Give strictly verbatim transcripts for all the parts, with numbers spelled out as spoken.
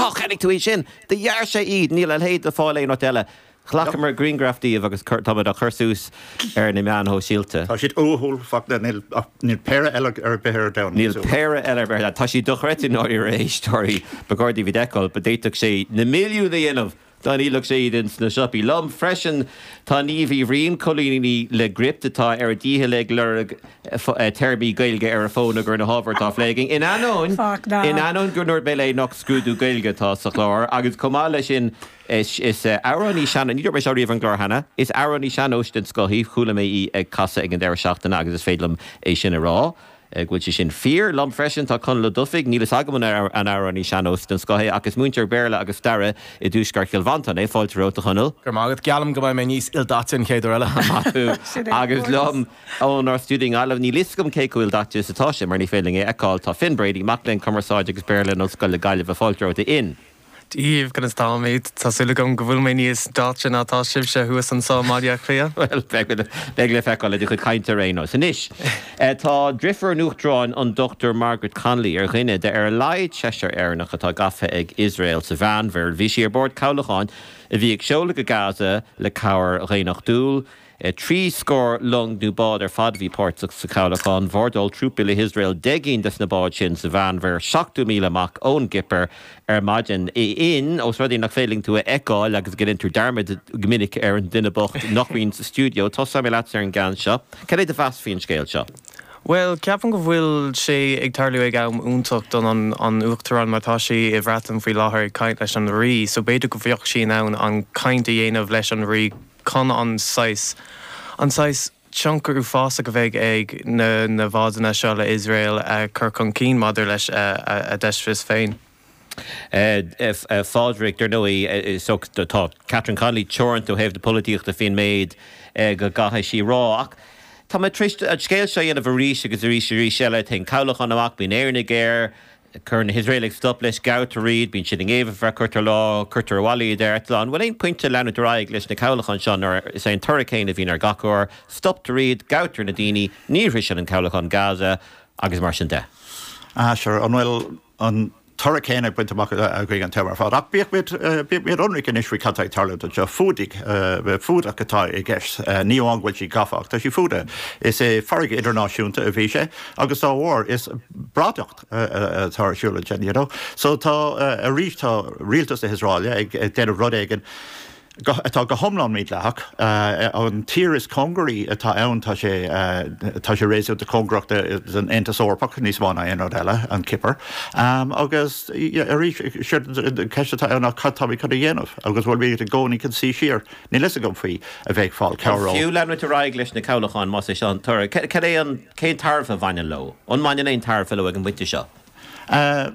Cá cheannaigh tú í sin? Do dhear sé iad níl a leithéid le fáil aon áit eile. Ghlacamar grianghraf díobh agus táimid á chur suas ar na meáin shóisialta. Tá siad uathúil faoi níl níl péire eile ar bith ar domhan. Níl péire eile ar bith tá sí dochreidte ná ar éisteoirí ba chóir daoibh iad a fheiceáil, ba d'fhéadfadh sé na milliúin a dhéanamh dá ndíolfadh sé iad ins na siopaí. Liom freisin tá Niamh Uí Bhriain coilíní le Gript atá ar a dícheall ag lorg téarmaí Gaeilge ar a fón gur na hábhair atá á phlé againn. In ainneoin in ainneoin gur ndúirt mé léi nach scrúdú Gaeilge atá sa chlár agus chomh maith leis sin is is amhránaí sean ní dúirt mé seo riamh ar an gclár cheana, is amhránaí sean-nóis den scoth í chuala mé í ag casadh ag an deireadh seachtaine agus is féidir liom é sin a rá. go bhfuil sé sin fíor liom freisin tá Conall Ó Dufaigh níl a fhios agam an an amhránaí sean-nóis den scoth é agus múinteoir Béarla agus staire i dtuaisceart Chill Mhantáin é fáilte romhat a Chonaill. Gur mágad gealam go mbeidh mé níos ildaite an chéad uair eile. Agus liom ónár stiúideo i nGaillimh níl a fhios agam cé chomh ildaite is atá sé mar ní féidir linn é a fheiceáil tá Finn Brady mac léinn cumarsáid agus Béarla in Ollscoil na Gaillimhe fáilte romhat a Fhinn. Díobh conas táimid Tá súil agam go bhfuil mé níos daite ná tá sibhse thuas anseo i mBaile Átha Cliath. Well beidh le feiceáil le do chuid cainte ar aon nós. Anois tá deirfiúr an Uachtaráin an Dr Margaret Connolly ar dhuine de ar a laghad seisear Éireannach atá gafa ag Iosrael sa Mheánmhuir. Bhí sí ar bord cabhlacháin a bhí ag seoladh go Gaza le cabhair dhaonnachtúil. Trí scór long nó bád ar fad bhí páirteach sa chabhlachán, bhordáil trúpaí le hIosrael deich gcinn des na báid sin sa Mheánmhuir seachtó míle amach ón gCipir ar maidin. In os rud é nach féidir linn tú a fheiceáil agus go ndéantar dearmad go minic ar an duine bocht nach mbíonn sa stiúideo, tosóidh mé leatsa ar an gceann seo. Cad é do mheas faoin scéal seo? Well, ceapaim go bhfuil sé ag tarlú ag am iontach don an, an uachtarán mar tá sí i mBreatain faoi láthair ag caint leis an rí, so b'fhéidir go bheadh sí in ann an caint a dhéanamh leis an rí chun an saghas an saghas tionchar uafásach a bheidh ag na na bádanna seo le Iosrael a chur chun cinn maidir leis a, a, a deisfis féin. Phádraig dar ndóigh so tá Catherine Connolly teoranta ó thaobh na polaitíochta faoin méid go gcaithfidh sí rá ach Tá mé tar éis an scéal seo a dhéanamh arís agus arís arís eile téann cabhlachán amach bíonn Éireannaigh air, cuireann na hIosraelaigh stop leis gabhtar iad, bíonn siad i ngéibheann ar feadh cúpla lá, cuirtear abhaile iad ar eitleán. Bhfuil aon pointe leanúint ar aghaidh leis na cabhlacháin seo nuair is é an toradh céanna a bhíonn ar gach uair, stoptar iad, gabhtar na daoine, ní shroiseann an cabhlachán Gaza agus mar sin de. Ah, sure, an bhfuil an toradh céanna bainte amach againn an t-am ar fad. Ach bíodh muid bíodh muid ionraic anois faoi cad tá ag tarlúint anseo fuadaigh fuadach atá i gceist ní amháin go bhfuil sí gafa ach tá sí fuadaithe. Is é farraige idirnáisiúnta a bhí sé agus dá bharr is bradacht atá ar siúl ansin, you know. So tá arís tá rialtas na hIosraeile ag déanamh rud éigin atá go hiomlán mídhleathach an tír is cóngaraí atá ann tá sé tá sé réasúnta cóngarach don Aontas Eorpach níos mó ná aon rud eile an Chipir agus arís ceist atá ann ach cad táimid chun a dhéanamh agus bhfuil muid i gcónaí chun suí siar níl a fhios agam faoi a bheith ag fáil cabhair Fiú leanúint ar aghaidh leis na cabhlacháin más é seo an toradh. Cad é an cén tairbhe a bhaineann leo? An mbaineann aon tairbhe leo ag an bpointe seo? Uh,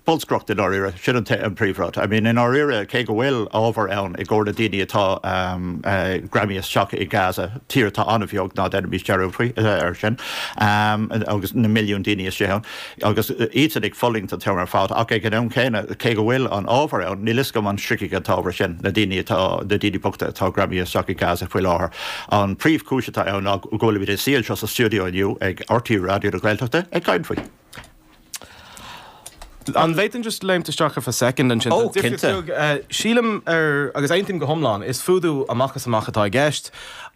bolscaireacht i ndáiríre sin an an príomhrud. I mean in ndáiríre cé go bhfuil ábhar ann i gcomhair na daoine atá um, uh, greamaithe isteach i Gaza tír atá an-bheag ná déanaimis dearmad faoi uh, ar sin um, agus na milliún daoine istigh ann agus iad ag fulaingt an t-am ar fad ach ag an am céanna cé go bhfuil an ábhar ann níl a fhios agam an sroichfidh an t-ábhar sin na daoine atá na daoine bochta atá greamaithe isteach i Gaza faoi láthair. An príomhchúis atá ann ná go bhfuil muid suí anseo sa stiúideo inniu ag RTÉ Raidió na Gaeltachta ag caint faoi. An bhféadfainn just léimt isteach for a second ansin. Ó, cinnte. Sílim ar agus aontaím go hiomlán is fuadú amach is amach atá i gceist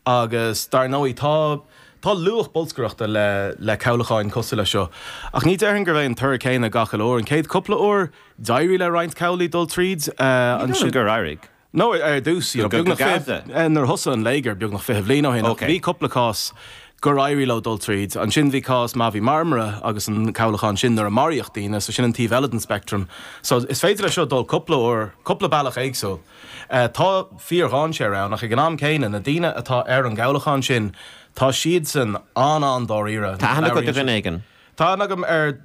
agus dar ndóigh tá Tá luach bolscaireachta le le cabhlacháin cosúil le seo. Ach ní déarfainn gurb é an toradh céanna gach uair an chéad cúpla uair d'éirigh le roinnt cabhlaigh dul tríd an gur éirigh. No ar dtús nuair thosaigh an léigear beagnach fiche bliain ó shin bhí cúpla cás gur éirigh leo dul tríd. Ansin bhí cás Mavi Marmara agus an cabhlachán sin nuair a maraíodh daoine, so sin an taobh eile den spectrum. So is féidir le seo dul cúpla uair, cúpla bealach éagsúil. Uh, tá fíordhainséar ann ach ag an am céanna na daoine atá ar an gcabhlachán sin tá siad san an-an-dáiríre. Tá aithne agat ar dhuine éigin. Tá agam ar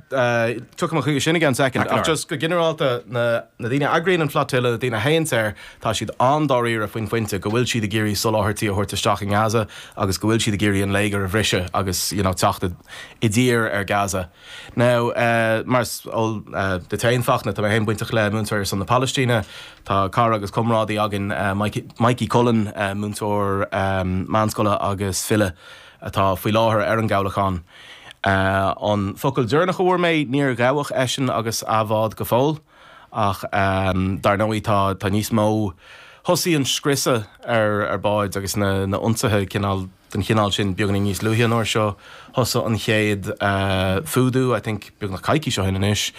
tuigim chuige sin again second ach just go ginearálta na na daoine eagraíonn an flotilla na daoine a théann air tá siad an-dáiríre faoin phointe go bhfuil siad ag iarraidh soláthairtí a thabhairt isteach i nGaza agus go bhfuil siad ag iarraidh an léigear a bhriseadh agus you know, teacht i dtír ar Gaza. Now uh, mar uh, de féin Fachtna tá mé féin bainteach le Múinteoirí ar son na Palaistíne, Tá cara agus comrádaí againn uh, Mikey, Mikey Cullen uh, múinteoir um, meánscoile agus file atá faoi láthair ar an gcabhlachán. Uh, an focal deireanach a fuair mé níor gabhadh eisean agus a bhád go fóill, Ach dar ndóigh tá tá níos mó thosaigh an scriosadh ar ar báid agus na na ionsaithe cineál den chineál sin beagáinín níos luaithe an uair seo. Thosaigh an chéad fuadú, I think, beagnach coicís ó shin anois.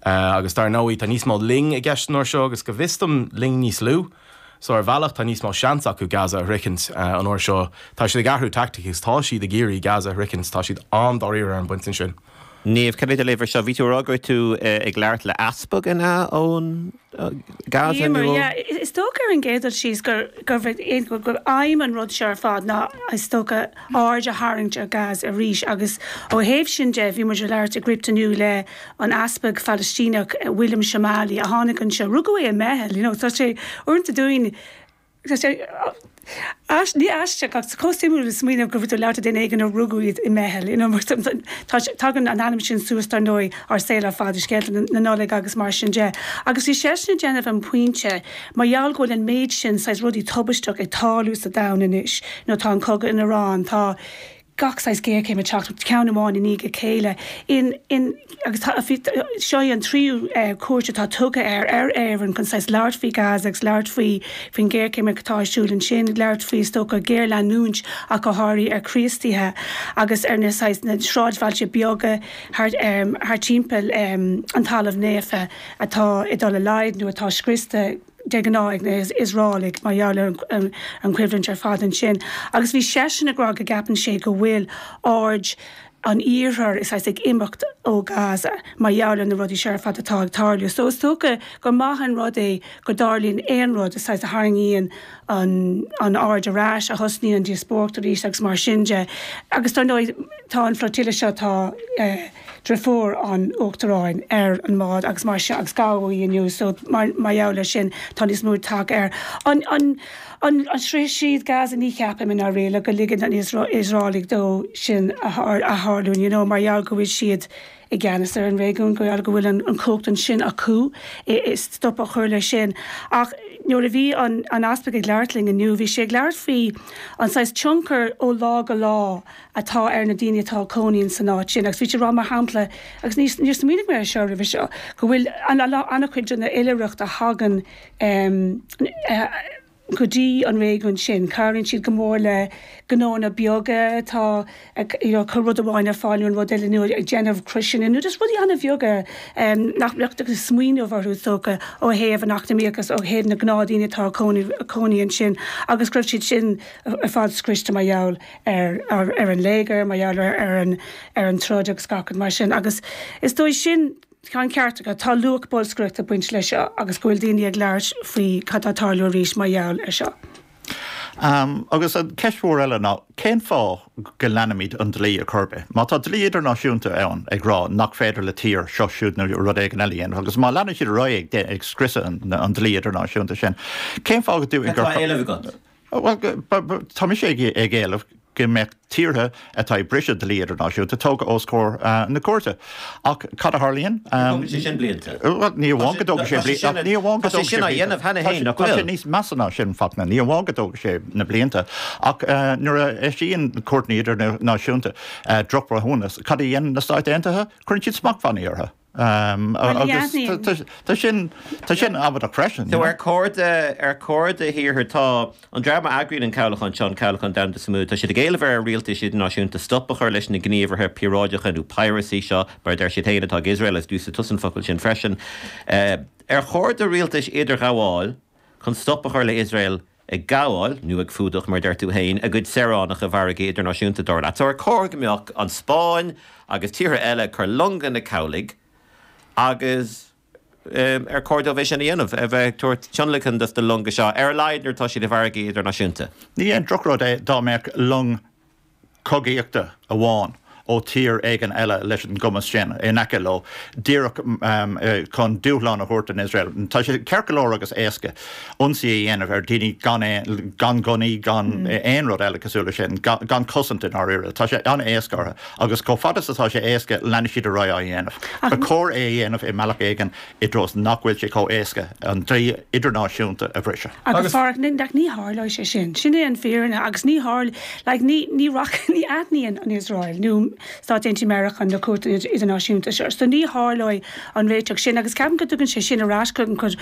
Agus dar ndóigh tá níos mó loing i gceist an uair seo agus go bhfios dom loing níos lú. So ar bhealach tá níos mó seans acu Gaza a shroichint an uair seo. Tá siad ag athrú teaictic agus tá siad ag iarraidh Gaza a shroichint, tá siad an-dáiríre ar an bpointe sin. Niamh, cad é do léamh air seo? Bhí tú ag rá go raibh tú ag labhairt le easpag, an ea, ón Gaza nó ó? Yeah, is dócha ar an gcéad dul síos gur gur aidhm an rud seo ar fad ná is dócha aird a tharraingt ar Gaza arís agus ó thaobh sin de bhí muid ag labhairt i gCrypt inniu le an easpag Phalaistíneach William Shomali a tháinig anseo, rugadh é i mBeithil, you know, tá sé uaireanta dúinn tá sé ní aisteach ach chomh suimiúil le smaoineamh go bhfuil tú ag labhairt le duine éigin a rugadh iad i mBeithil, you know, mar tá tagann an ainm sin suas dar ndóigh ár saol ar fad i scéalta na Nollag agus mar sin de. Agus bhí seisean ag déanamh an pointe mar gheall go bhfuil an méid sin saghas rudaí tubaisteach ag tarlú sa domhan anois, nó tá an cogadh in Iran, tá gach saghas géarchéim ag teacht, ceann amháin i ndiaidh a chéile. In, in, agus tá, seo í an tríú cuairt atá tugtha air ar Éirinn chun saghas labhairt faoi Gaza agus labhairt faoi faoin ghéarchéim atá ar siúl ansin, labhairt faoi is dócha géarleanúint ach go háirithe ar Chríostaithe agus ar na saghas na sráidbhailte beaga thart, thart timpeall an Talamh Naofa atá ag dul i laghad nó atá scriosta de ghnáth ag na hIosraelaigh mar gheall ar an choimhlint ar fad ansin. Agus bhí seisean ag rá go gceapann sé go bhfuil aird an Iarthair is ag imeacht ó Gaza mar gheall ar na rudaí seo ar fad atá ag tarlú. So is dócha gur maith an rud é go dtarlaíonn aon rud is a tharraingíonn an an aird ar ais, a thosnaíonn an díospóireacht arís agus mar sin de. Agus dar ndóigh tá an flotilla seo tá eh, deirfiúr an Uachtaráin ar an mbád agus mar sin agus gabhadh í inniu so mar mar gheall air sin tá níos mó tagtha air. An an an an sroichfidh siad Gaza ní cheapaim i ndáiríre go ligeann an Iosraelaigh dó sin a a tharlú you know mar gheall go bhfuil siad i gceannas ar an réigiún go go bhfuil an an chumhacht ansin acu is stop a chur leis sin. Ach nuair a bhí an an easpag ag labhairt linn inniu, bhí sé ag labhairt faoi an saghas tionchar ó lá go lá atá ar na daoine atá ag cónaí san áit sin. Agus bhí sé ag rá mar shampla, agus ní níor smaoinigh mé air seo roimhe seo, go bhfuil an-chuid den oilithreacht a thagann um, uh, go dtí an réigiún sin. Cabhraíonn siad go mór le gnónna beaga atá ag you know, cur rud amháin ar fáil nó an rud eile nó ag déanamh croiseanna nó just rudaí an-bheaga um, nach mbeadh ag smaoineamh orthu is dócha ó thaobh an eacnamaíochas ó thaobh na gnáthdhaoine atá ag cónaí, cónaí ansin agus go raibh siad sin ar fad scriosta mar gheall ar, ar, ar an léigear, mar gheall ar, ar, an, ar an troid agus gach rud mar sin. Agus is dóigh sin Tá an ceart agat, tá luach bolscaireachta ag baint leis seo agus go bhfuil daoine ag labhairt faoi cad atá ag tarlú arís mar gheall air seo. Um, agus an ceist mhór eile ná cén fáth go leanaimid an dlí ar chor ar bith. Má tá dlí idirnáisiúnta ann ag rá nach féidir le tír seo siúd nó rud éigin eile a dhéanamh, agus má leanann siad ar aghaidh ag, ag scriosadh an, an dlí idirnáisiúnta sin, cén fáth go dú Cad tá á éileamh agat? Well, tá mise ag, ag éileamh go mbeadh tíortha atá ag briseadh dlí idirnáisiúnta tógtha os comhair na cúirte. Ach cad a tharlaíonn? Tógann sé sin blianta. Ní amháin go dtógann sé blianta. Ní amháin go Tá sé sin á dhéanamh cheana féin, nach Tá sé bhfuil? níos measa ná sin Fachtna. Ní amháin go dtógann sé na blianta. Ach nuair a eisíonn cúirteanna idirnáisiúnta drochbhreithiúnas, cad a dhéanann na Stáit Aontaithe? Cuireann siad smachtbhannaí orthu. Agus tá sin tá sin amaideach freisin. So ar chóir ar chóir do thíortha tá an dream a eagraíonn an cabhlachán seo an cabhlachán domhanda Sumud, tá siad ag éileamh ar rialtais idirnáisiúnta stop a chur leis na gníomhartha píoráideacha nó piracy seo mar a deir siad féin atá ag Iosrael is d'úsáid tusa an focal sin freisin. Ar chóir do rialtais idirghabháil chun stop a chur le Iosrael ag gabháil nó ag fuadach mar a deir tú féin a gcuid saoránach i bhfarraige idirnáisiúnta dar leat. So ar chóir go mbeadh an Spáinn agus tíortha eile ag cur longa na cabhlaigh agus ar chóir dóibh é sin a dhéanamh, a bheith ag tabhairt tionlacan dos na longa seo, ar a laghad nuair atá siad i bhfarraigí idirnáisiúnta. Ní aon drochrud é dá mbeadh long cogaíochta amháin ó tír éigin eile leis an gcumas sin in aice leo, díreach chun dúshlán a thabhairt don Iosrael. Tá sé ceart go leor agus éasca ionsaí a dhéanamh ar dhaoine gan gan gunnaí, gan aon rud eile cosúil leis sin, gan cosaint i ndáiríre. Tá sé an-éasca orthu agus chomh fada is atá sé éasca, leanfaidh siad ar aghaidh á dhéanamh. Ba chóir é a dhéanamh i mbealach éigin i dtreo is nach bhfuil sé chomh éasca an dlí idirnáisiúnta a bhriseadh. Agus Phádraig, ní tharlóidh sé sin. Sin é an fírinne agus ní tharl, like, ní, ní, ní aithníonn an Iosrael nó Stáit Aontaithe Meiriceá na cúirteanna idirnáisiúnta seo. So ní tharlóidh an réiteach sin agus ceapaim go dtugann sé sin ar ais go rud